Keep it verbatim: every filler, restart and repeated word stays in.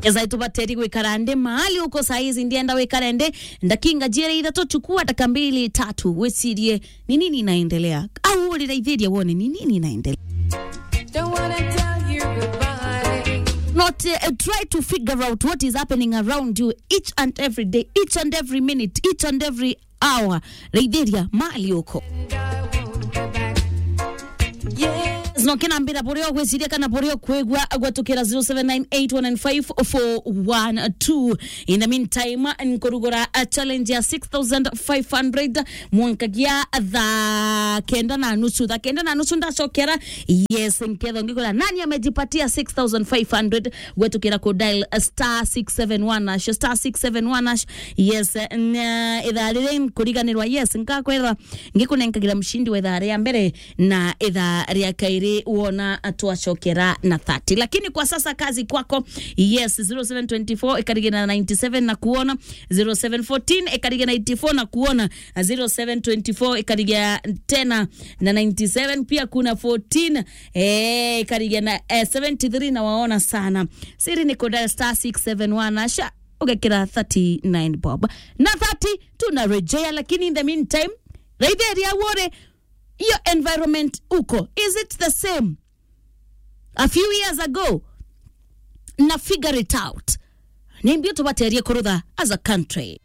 Eza itubateri gwikara ndi mahali uko saa hizi, ndienda wikare ndi ndakinga jiere ithatu, chukua dakika mbili tatu, wicirie ni nini inaendelea. Au uriraithiria wone ni nini inaendelea. Don't wanna tell you goodbye. Not, uh, try to figure out what is happening around you each and every day, each and every minute, each and every hour. Raithiria mahali uko. Yes, no kina mbira buria ugwiciria kana buria ukwigua, gwetukira zero seven nine eight one nine five four one two. In the meantime, nkurugura a challenge ya six thousand five hundred mwankagia thaa kenda na nusu. Thaa kenda na nusu ndacokera. Yes, nketho ngikora nani amejipatia six thousand five hundred, gwetukira ku dial star six seven one hash, star six seven one hash. Yes, na ithaa riri nkuriganirwa, yes, nkakwethwa ngikunenkagira mshindi wa ithaa ria mbere na ithaa ria kairi wona twacokera na thirty. Lakini kwa sasa kazi kwako. Yes, zero seven twenty-four ikarigia na ninety-seven na kuona, zero seven fourteen ikarigia na eighty-four na kuona, zero seven twenty-four ikarigia tena na ninety-seven, pia kuna fourteen, eh, ikarigia na, eh, seventy-three na waona sana. Siri ni kudial star six seven one hash, ugekira thirty-nine bob. Na thirty, tunarejea, lakini in the meantime, raithiria uone hiyo environment uko. Is it the same a few years ago? Na figure it out. Ni mbio tubaterie kurutha as a country.